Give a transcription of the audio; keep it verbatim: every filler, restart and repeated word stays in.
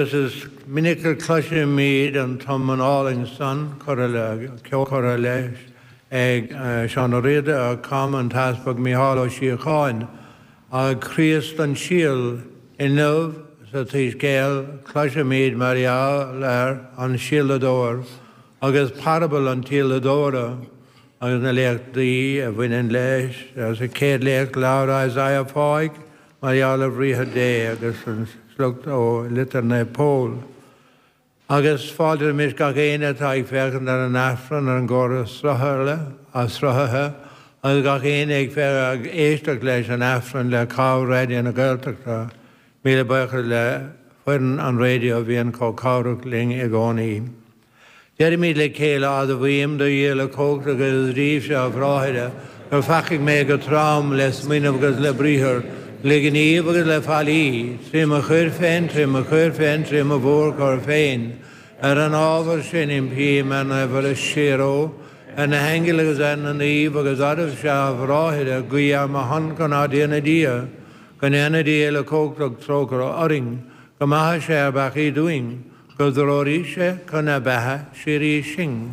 Agus is minic a chloisimid an t-iomann álainn san curtha le ceol curtha leis ag Seán Ó Riada a chum an tEaspag Mícheál Ó Síocháin, ag Críost an Síol inniu sa tSoiscéal cloisimid mar gheall ar an síoladóir agus parabal an tsíoladóra agus na léachtaí a bhaineann leis. Sa chéad léacht labhair Isaiah fáidh mar gheall ar bhriathar Dé agus an sliocht ó Litir Naomh Pól. Agus fáiltímis gach éinne atá ag féachaint ar an Aifreann ar an gcóras sruthaithe agus gach éinne ag ag éisteacht leis an Aifreann le cabhair Raidió na Gaeltachta. Míle buíochas le foireann an raidió a bhíonn chomh cabhrach linn i gcónaí. Deirimid le chéile admhaím a Dhia uilechumhachtach agus daoibhse a bhráithre, gur pheacaigh mé go trom le smaoineamh agus le briathar, le gníomh agus le faillí, trí mo choir féin, trí mo choir féin, trí mo mhórchoir féin. Ar an ábhar sin impím ar Naomh Muire Síoraí, ar na haingil agus ar na naoimh agus oraibhse a bhráithre, guí ar mo shon chun ár dTiarna Dia, go ndéana Dia uilechumhachtach trócaire orainn, go maithe sé ár bpeacaí dúinn, go dtreoraí sé chun na beatha síoraí sinn.